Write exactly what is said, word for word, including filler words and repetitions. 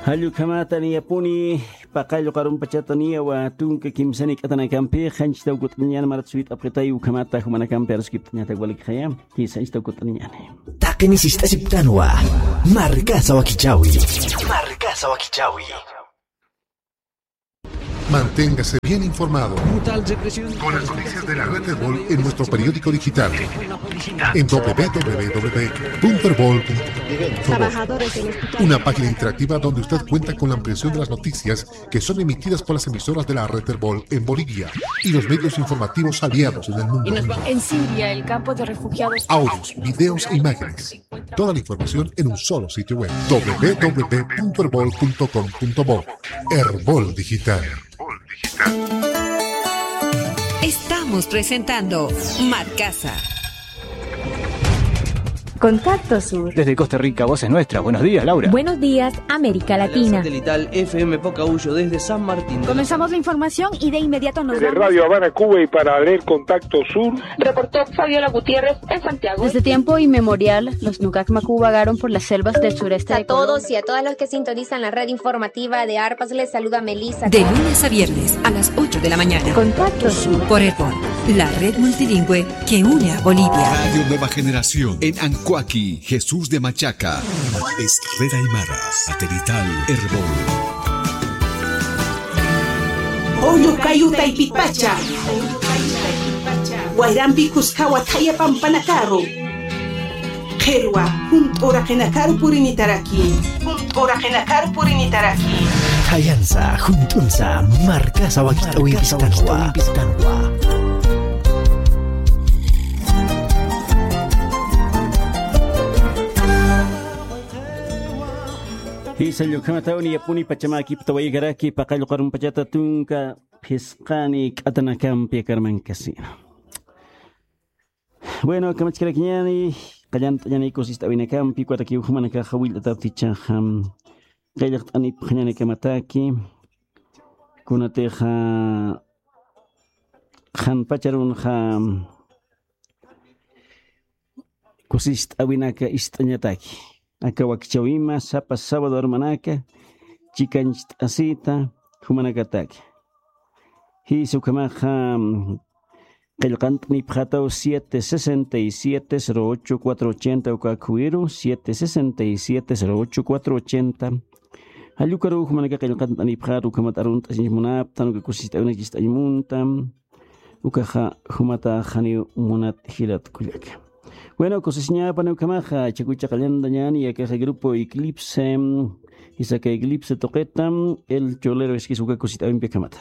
Jall ukhamata niyapuni, paqall uqarumpachata niyawa tunka kimsani k'atanakampi, qanchitaw kut'añan marat suyt'apxitay ukhamata jumanakampi aruskipt'añatak walikxaya, qanchitaw kut'añani. Taqini sist'asiptanwa, markasa wakichawi. Markasa wakichawi. Manténgase bien informado con las noticias de la red Erbol en nuestro periódico digital en w w w punto erbol punto com. Una página interactiva donde usted cuenta con la ampliación de las noticias que son emitidas por las emisoras de la red Erbol en Bolivia y los medios informativos aliados en el mundo. En Siria, el campo de refugiados. Audios, videos e imágenes. Toda la información en un solo sitio web, w w w punto erbol punto com punto bo. Erbol Digital. Estamos presentando Markasa. Contacto Sur. Desde Costa Rica, Voces Nuestras. Buenos días, Laura. Buenos días, América Latina. Satelital F M Pocahullo desde San Martín. Comenzamos la información y de inmediato nos vamos. Desde Radio Habana, Cuba, y para leer Contacto Sur, reportó Fabiola Gutiérrez en Santiago. Desde tiempo inmemorial, los Nukak Maku vagaron por las selvas del sureste de Colombia. A todos y a todas los que sintonizan la red informativa de Arpas, les saluda Melissa. De lunes a viernes a las ocho de la mañana. Contacto Sur. Por Erbol, la red multilingüe que une a Bolivia. Radio Nueva Generación en Ancoaqui, Jesús de Machaca. Es Red Aymara, satelital Erbol. Pawllu kayu taypipacha. Wayrampi kuskawa thaya pampanakaru. Qhirwa, junt'u uraqinakaru purinitaraki. Junt'u uraqinakaru purinitaraki. Thayansa, junt'unsa, markasa wakich'awimpistanwa. Jisa, ukhamataw niyapuni pachamakipi tawaykaraki, paqall uqarumpachata tunka phisqani k'atanakampi akarmankasina. Bueno, kamachkarakiñani, qallant'añani kusist'awinakampi, ukatakiw jumanakaxa jawillt'ataptichaxa, qillqt'anipxañanikamataki, kunatixa qhanpacharunxa kusist'awinaka ist'añataki. Aka wakichäwima sapa sábado armanaka, chikancht'asita, jumanakataki. Jisa ukhamaxa, qillqant'anipxätaw siete sesenta y siete, cero ocho, cuatro ochenta, uka akhuwiru, siete sesenta y siete, cero ocho, cuatro ochenta. Jall ukaruw jumanaka qillqant'anipxäta, ukhamat arunt'asiñ munapxtan, uka kusist'awinak ist'añ munta. Ukaxa jumatax janiw munat jilat kullaka. Bueno, kusisiñäpani ukhamaxa, chakucha qallantañäni, akaxa Grupo Eclipse, jisa aka Eclipse tuqita, El Cholero iskis uka kusist'awimpi ukhamata.